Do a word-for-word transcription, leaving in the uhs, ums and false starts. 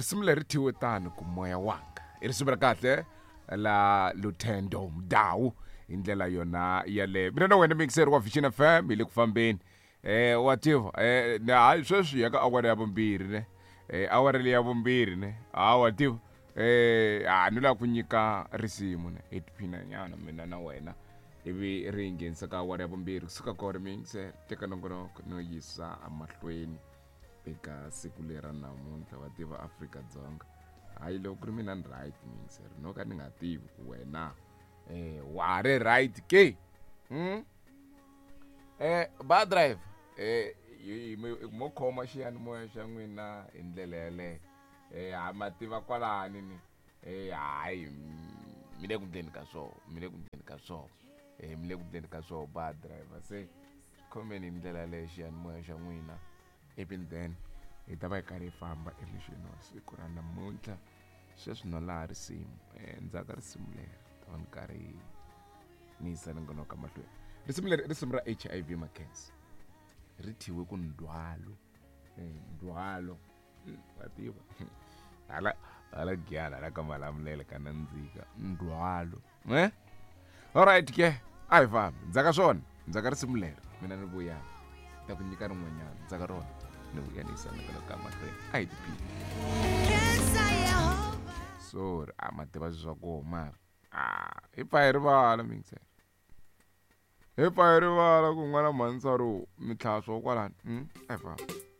Risimu leri thyiwe tani ku moya wanga i risimu ra kahle la Luthendo Mdawu hi ndlela yona yaleyo. Mina na wena mixer wa Vision F M hi le ku fambeni. Eh wa tiva eh na hayi sweswi ya ka awara ya vumbirhi ne. Eh awara leyi ya vumbirhi ne. Ha wa tiva eh a ni lava ku nyika risimu ne hi tiphina nyana mina na wena ivi ri nghenisa ka awara ya vumbirhi kusuka ka ri mixer teka nongonoko no yisa emahlweni eka siku lera namuntlha wa tiva Afrika-Dzonga. Hayi loko ku ri mina ni right mixer no ka ni nga tivi ku wena eh wa ri right ke. Hmm? Eh ba drive eh mo khoma xiyanimoya xa n'wina hi ndlela yaleyo. Eh ha ma tiva kwalani ni eh hayi mi le ku ndleni ka swona, mi le ku ndleni ka swona. Eh mi le ku ndleni ka swona ba driver se khomeni hi ndlela yaleyo xiyanimoya xa n'wina. Even then hi ta va hi karhi hi famba emixini wa siku ra namuntlha. Sweswi no laha risimu eh ndzhaku ka risimu leri ta va ni karhi ni yisa nongonoko mahlweni. Risimu leri risimu ra H I V Mackenzie ri thyiwe ku ndhwalo. Eh ndhwalo wa tiva hala hala giyana hala ka Malamulele ka nandzika ndhwalo. Eh alright ke a hi fambi ndzhaku ka swona ndzhaku ka risimu leri mina ni vuya ta ku nyika rin'wanyana ndzhaku ka rona ni vuya ni yisa nongonoko ka mahlweni. A hi tiphini. Sorry a ma tiva swa ku mara ah hi pfa hi rivala mixer hi pfa hi rivala ku n'wana mhanisaro mitlhaswo kwalani. Hmm a hi fambi.